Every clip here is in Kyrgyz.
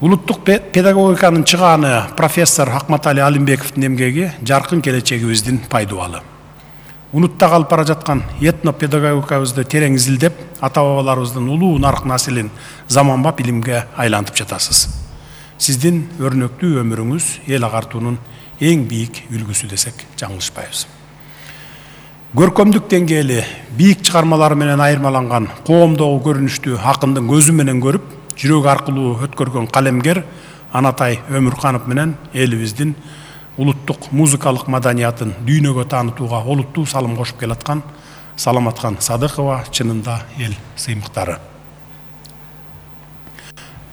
Улуттук педагогиканын чыгааны профессор Акматали Алимбековдун эмгеги жаркын келечегибиздин пайдубалы. Унутта калып бара жаткан этнопедагогикабызды терең изилдеп, ата-бабаларыбыздын улуу нарк населин заманбап илимге айлантып жатасыз. Сиздин өрнөктүү өмүрүңүз эл агартуунун эң бийик үлгүсү десек жаңылышпайбыз. Көркөмдүк деңгээли бийик чыгармалары менен айырмаланган коомдогу көрүнүштү акындын көзү менен көрүп, жүрөк аркылуу өткөргөн калемгер Анатай Өмүрканов менен элибиздин улуттук музыкалык маданиятын дүйнөгө таанытууга олуттуу салым кошуп келаткан Саламатхан Садыкова чынында эл сыймыктары.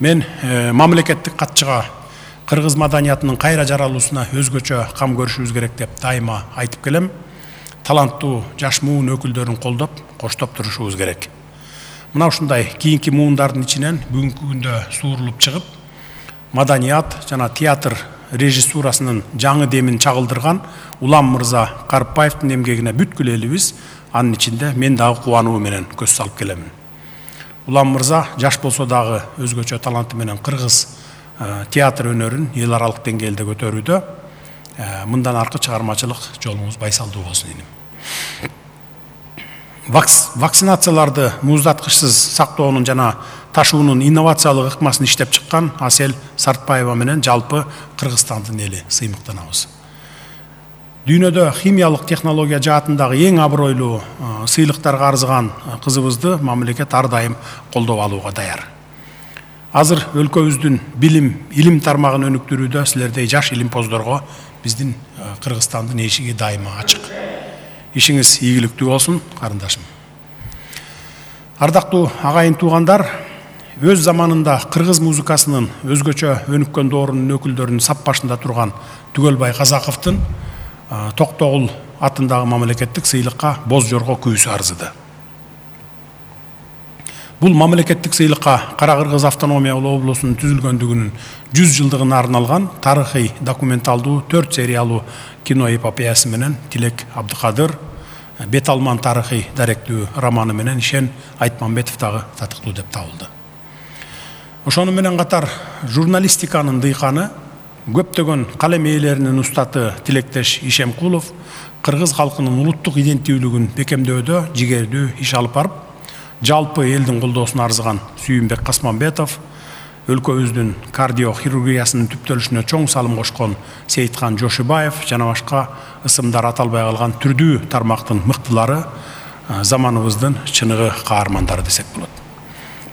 Мен мамлекеттик катчыга кыргыз маданиятынын кайра жаралуусуна өзгөчө кам көрүшүбүз керек деп дайыма айтып келем. Таланттуу жаш муун өкүлдөрүн колдоп, коштоп турушубуз керек. Мына ушундай кийинки муундардын ичинен бүгүнкү күндө суурулуп чыгып, маданият жана театр режиссурасынын жаңы демин чагылдырган Улам мырза Карпаевдин эмгегине бүткүл элибиз, анын ичинде мен дагы кубануу менен көз салып келемин. Улам мырза жаш болсо дагы өзгөчө таланты менен кыргыз театр өнөрүн эл аралык деңгээлде көтөрүүдө. Мындан аркы чыгармачылык жолуңуз байсалдуу болсун дейм. Вакцинацияларды муздаткычсыз сактоонун жана ташуунун инновациялык ыкмасын иштеп чыккан Асел Сартбаева менен жалпы Кыргызстандын эли сыймыктанабыз. Дүйнөдө химиялык технология жаатындагы эң абройлуу сыйлыктарга арзыган кызыбызды мамлекет ар дайым колдоп алууга даяр. Азыр өлкөбүздүн илим тармагын өнүктүрүүдө силердей жаш илимпоздорго биздин Кыргызстандын эшиги дайыма ачык. Ишиңиз ийгиликтүү болсун, карындашым. Ардактуу агайын туугандар, өз заманында кыргыз музыкасынын өзгөчө өнүккөн доорунун өкүлдөрүнүн сап башында турган Түгөлбай Казаковдун Токтогул атындагы мамлекеттик сыйлыкка Боз Жорго күйүүсү арзыды. Бул мамлекеттик сыйлыкка Кара Кыргыз автономиялуу облусунун түзүлгөндүгүнүн 100 жылдыгына арналган тарыхый документалдуу 4 сериялуу кино эпопеясы менен Тилек Абдыкадыр, Бет алман тарыхый даректүү романы менен Ишен Айтмамбетов дагы татыктуу деп табылды. Ошону менен катар журналистиканын дыйканы, көптөгөн калем ээлеринин устаты Тилектеш Ишемкулов кыргыз калкынын улуттук иденттүүлүгүн бекемдөөдө жигердүү иш алып барып, жалпы элдин колдоосуна арзыган Сүйүнбек Касманбетов, өлкөбүздүн кардиохирургиясынын түптөлүшүнө чоң салым кошкон Сейиткан Жошубаев жана башка ысымдар аталбай калган түрдүү тармактын мыктылары заманыбыздын чыныгы каармандары десек болот.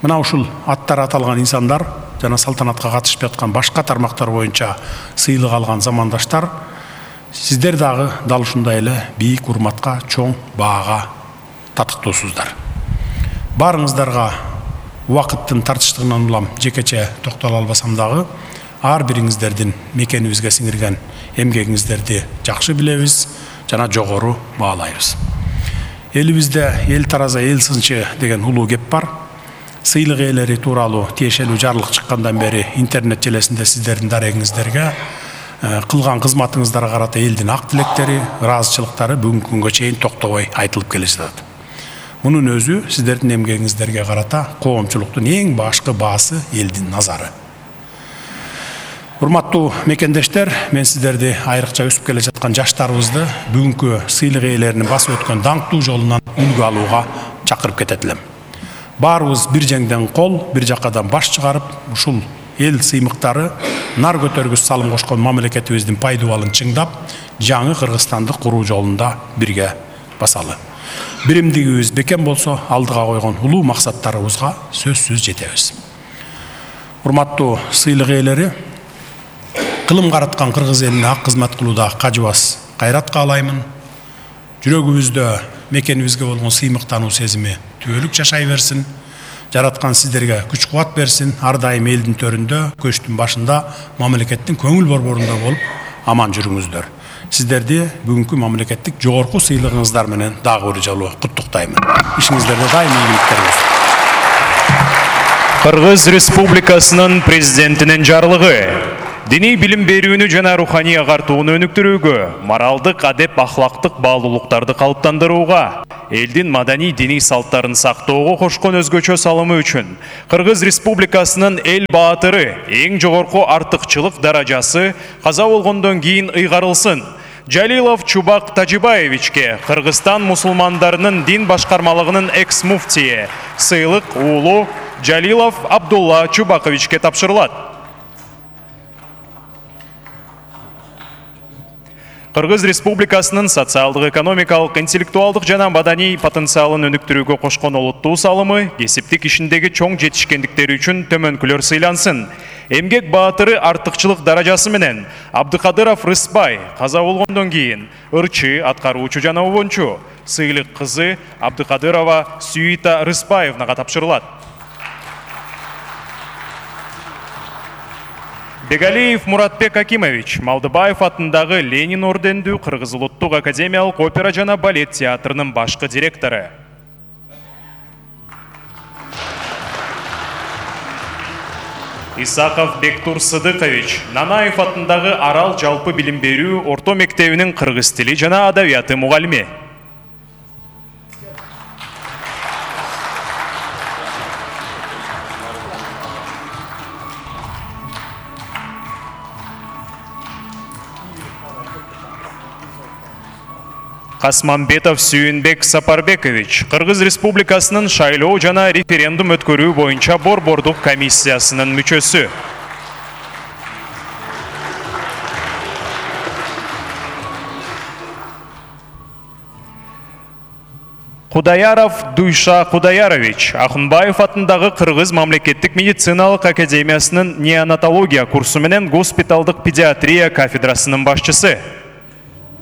Мына ушул аттар аталган инсандар жана салтанатка катышып аткан башка тармактар боюнча сыйлык алган замандаштар, сиздер дагы дал ушундай эле бийик урматка, чоң баага татыктуусуздар. Барыңыздарга убакыттын тартыштыгынан улам жекече токтоло албасам дагы, ар бириңиздердин мекенибизге сиңирген эмгегиңиздерди жакшы билебиз жана жогору баалайбыз. Элибизде эл тараза эл сынчы деген улуу кеп бар. Сыйлык ээлери тууралуу тиешелүү жарлык чыккандан бери интернет желесинде сиздердин дарегиңиздерге кылган кызматыңыздарга карата элдин ак тилектери, ыраазычылыктары бүгүнкү күнгө чейин токтобой айтылып келе жатат. Мунун өзү сиздердин эмгегиңиздерге карата коомчулуктун эң башкы баасы элдин назары. Урматтуу мекендештер, мен сиздерди айрыкча өсүп келе жаткан жаштарыбызды бүгүнкү сыйлык ээлеринин басып өткөн даңктуу жолунан үлгү алууга чакырып кетет элем. Баарыбыз бир жеңден кол, бир жакадан баш чыгарып, ушул эл сыймыктары нар көтөргүс салым кошкон мамлекетибиздин пайдубалын чыңдап, жаңы Кыргызстанды куруу жолунда бирге басалы. Биримдигибиз бекем болсо, алдыга койгон улуу максаттарыбызга сөзсүз жетебиз. Урматтуу сыйлык ээлери, кылым караткан кыргыз элине ак кызмат кылууда кажыбас кайрат каалаймын. Жүрөгүбүздө мекенибизге болгон сыймыктануу сезими түбөлүк жашай берсин. Жараткан сиздерге күч кубат берсин. Ар дайым элдин төрүндө, көчтүн башында, мамлекеттин көңүл борборунда болуп аман жүрүңүздөр. Сиздерди бүгүнкү мамлекеттик жогорку сыйлыгыңыздар менен дагы бир жолу куттуктаймын. Ишиңиздерде дайым ийгиликтер болсун. Кыргыз Республикасынын президентинин жарлыгы. Диний билим берүүнү жана руханий агартууну өнүктүрүүгө, моралдык, адеп, ахлактык баалуулуктарды калыптандырууга, элдин маданий диний салттарын сактоого кошкон өзгөчө салымы үчүн Кыргыз Республикасынын эл баатыры эң жогорку артыкчылык даражасы каза болгондон кийин ыйгарылсын. Жалилов Чубак Тажибаевичке Кыргызстан мусулмандарынын дин башкармалыгынын экс-муфтии сыйлык уулу Жалилов Абдулла Чубаковичке тапшырылат. Кыргыз Республикасынын социалдык, экономикалык, интеллектуалдык жана маданий потенциалын өнүктүрүүгө кошкон олуттуу салымы, кесиптик ишиндеги чоң жетишкендиктери үчүн төмөнкүлөр сыйлансын. Эмгек баатыры артыкчылык даражасы менен Абдыкадыров Рыспай каза болгондон кийин ырчы, аткаруучу жана обончу сыйлык кызы Абдыкадырова Сүйита Рыспаевнага тапшырылат. Бегалиев Муратбек Акимович Малдыбаев атындагы Ленин ордендүү Кыргыз улуттук академиялык опера жана балет театрынын башкы директору. Исаков Бектур Сыдыкович Нанаев атындагы Арал жалпы билим берүү орто мектебинин кыргыз тили жана адабияты мугалими. Касманбетов Сүйүнбек Сапарбекович Кыргыз Республикасынын шайлоо жана референдум өткөрүү боюнча борбордук комиссиясынын мүчөсү. Кудаяров Дуйша Кудаярович Ахунбаев атындагы Кыргыз мамлекеттик медициналык академиясынын неонатология курсу менен госпиталдык педиатрия кафедрасынын башчысы.